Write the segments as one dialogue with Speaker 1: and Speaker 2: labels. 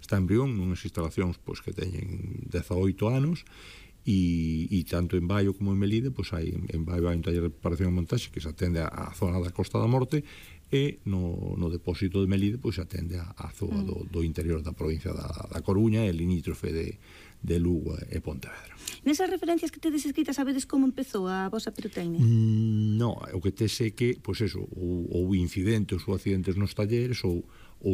Speaker 1: está en Brión, nunhas instalacións pois, que teñen 18 anos, e tanto en Baio como en Melide, pois hai en Baio hai un taller de preparación e montaxe que se atende á zona da Costa da Morte, e no depósito de Melide pois se atende á zona do interior da provincia da Coruña e limítrofe de Lugo e Pontevedra.
Speaker 2: Nesas referencias que tedes escritas, sabedes como empezou a vosa pirotecnia?
Speaker 1: No, o que te sei que, pois eso, ou incidentes ou accidentes nos talleres ou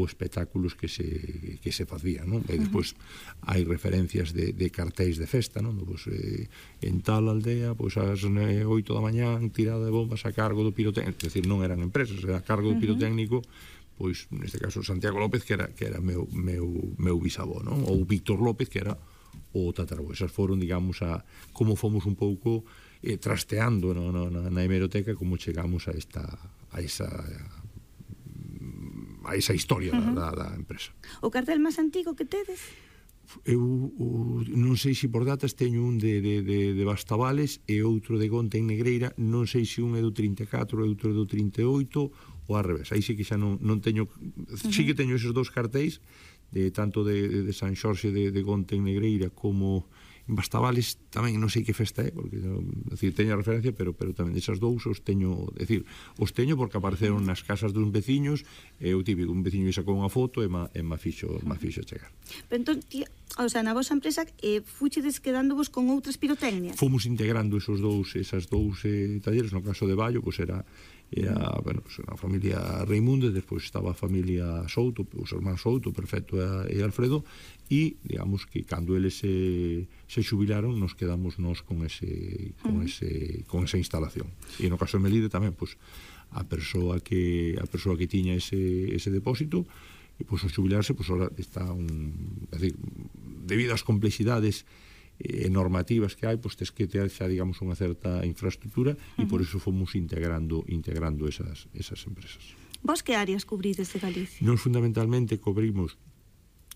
Speaker 1: espectáculos que se facían, non? E despois hai referencias de cartéis de festa, non? Pois, en tal aldea, pois ás 8 da mañán, tirada de bombas a cargo do pirotécnico, é dicir, non eran empresas, era a cargo do pirotécnico, pois, neste caso, Santiago López, que era meu bisavó, non? Ou Víctor López, que era o tatarabó. Esas foron, digamos, como fomos un pouco trasteando na hemeroteca, como chegamos a esa historia da empresa.
Speaker 2: O cartel máis antigo que tedes?
Speaker 1: Eu non sei se por datas teño un de Bastavales e outro de Gonte en Negreira, non sei se un é do 34 e outro é do 38 ou ao revés, aí sí que xa non teño, sí que teño esos dous cartéis, tanto de San Xorxe de Gonte en Negreira como en Bastavales, tamén non sei que festa é, porque teño a referencia, pero tamén desas dous os teño, os teño porque apareceron nas casas dos veciños, e o típico, un veciño sacou unha foto e ma fixo chegar.
Speaker 2: Pero entón, o sea, na vosa empresa fuchedes quedándovos con outras pirotecnias?
Speaker 1: Fomos integrando esas dous talleres. No caso de Baio, pois era bueno, a familia Reimunde, despois estaba a familia Souto, os irmáns Souto, Perfecto e Alfredo, e digamos que cando eles se xubilaron, nos quedamos nós con esa instalación. E no caso de Melide tamén, pois a persoa que tiña ese depósito, e pois ao xubilarse, pois ahora está debido ás complexidades normativas que hai, pois tes que ter xa, digamos, unha certa infraestructura, e por iso fomos integrando esas empresas.
Speaker 2: Vos que áreas cubrides de Galicia?
Speaker 1: Nos fundamentalmente cobrimos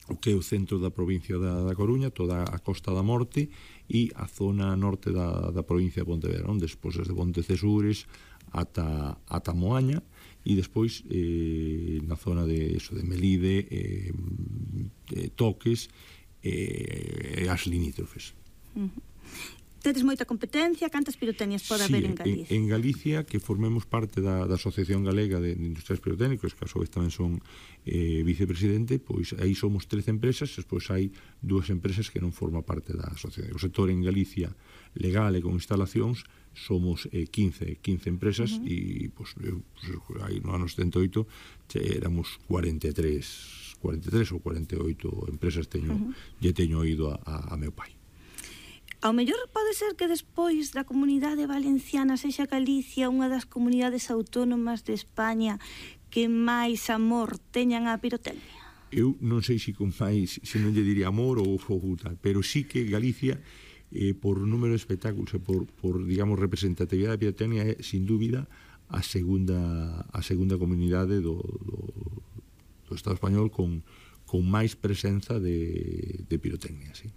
Speaker 1: o que é o centro da provincia da Coruña, toda a Costa da Morte e a zona norte da provincia de Pontevedra, onde despois desde Pontecesures ata Moaña, e despois na zona de Melide, Toques e as limítrofes.
Speaker 2: Tedes moita competencia, cantas pirotecnias pode haber en Galicia?
Speaker 1: En Galicia, que formemos parte da Asociación Galega de Industrias Pirotécnicos, que a su vez tamén son vicepresidente, pois aí somos 13 empresas, despois hai 2 empresas que non forman parte da asociación. O sector en Galicia legal e con instalacións somos 15 empresas, e pois, aí no ano 78 éramos 43 ou 48 empresas teño ido a meu pai.
Speaker 2: Ao mellor pode ser que despois da Comunidade Valenciana sexa Galicia unha das comunidades autónomas de España que máis amor teñan á pirotecnia.
Speaker 1: Eu non sei se con máis, se non lle diría amor ou tal, pero sí que Galicia, por número de espectáculos e por digamos, representatividade da pirotecnia, é, sin dúbida, a segunda comunidade do Estado español con máis presenza de pirotecnia, sí.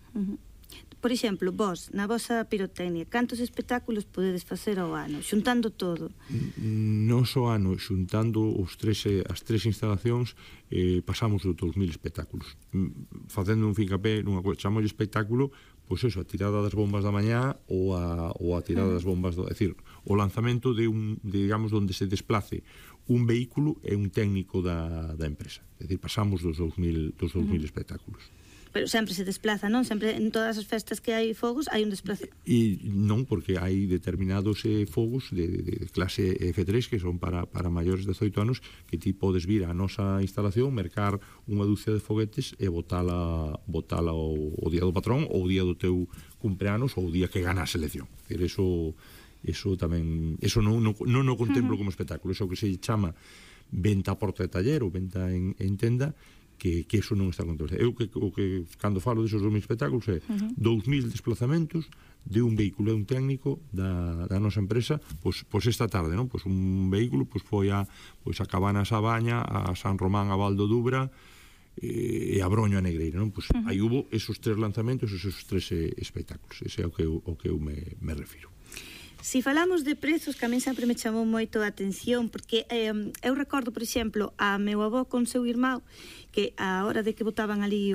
Speaker 2: Por exemplo, vos, na vosa pirotecnia, cantos espectáculos podedes facer ao ano, xuntando todo?
Speaker 1: Non só ano, xuntando as tres instalacións, pasamos os 2000 espectáculos. Facendo un fincapé nunha coisa, chamamos espectáculo, pois eso, a tirada das bombas da mañá ou a tirada das bombas, é dicir, o lanzamento digamos, onde se desplace un vehículo e un técnico da empresa. É dicir, pasamos dos 2000 espectáculos.
Speaker 2: Pero sempre se desplaza, non? Sempre en todas as festas que hai fogos hai un desplazo.
Speaker 1: E non, porque hai determinados fogos de clase F3 que son para maiores de 18 anos, que ti podes vir á nosa instalación, mercar unha dúcia de foguetes e botala o día do patrón ou o día do teu cumpleanos ou o día que gana a selección. Eso tamén, eso non o contemplo como espectáculo. Eso que se chama venta a porta de taller ou venta en tenda, que eso non está controlado. Eu que cando falo desos 2000 espectáculos é 2000 desplazamentos de un vehículo e un técnico da nosa empresa, pois esta tarde, non? Pois un vehículo foi a Cabanas a Baña, a San Román a Val do Dubra e a Broño a Negreira, non? Pois aí hubo esos 3 lanzamentos, esos 3 espectáculos. Ese é o que eu me refiro.
Speaker 2: Si falamos de prezos, que a mí sempre me chamou moito a atención, porque eu recordo, por exemplo, a meu avó con seu irmão, que a hora de que botaban ali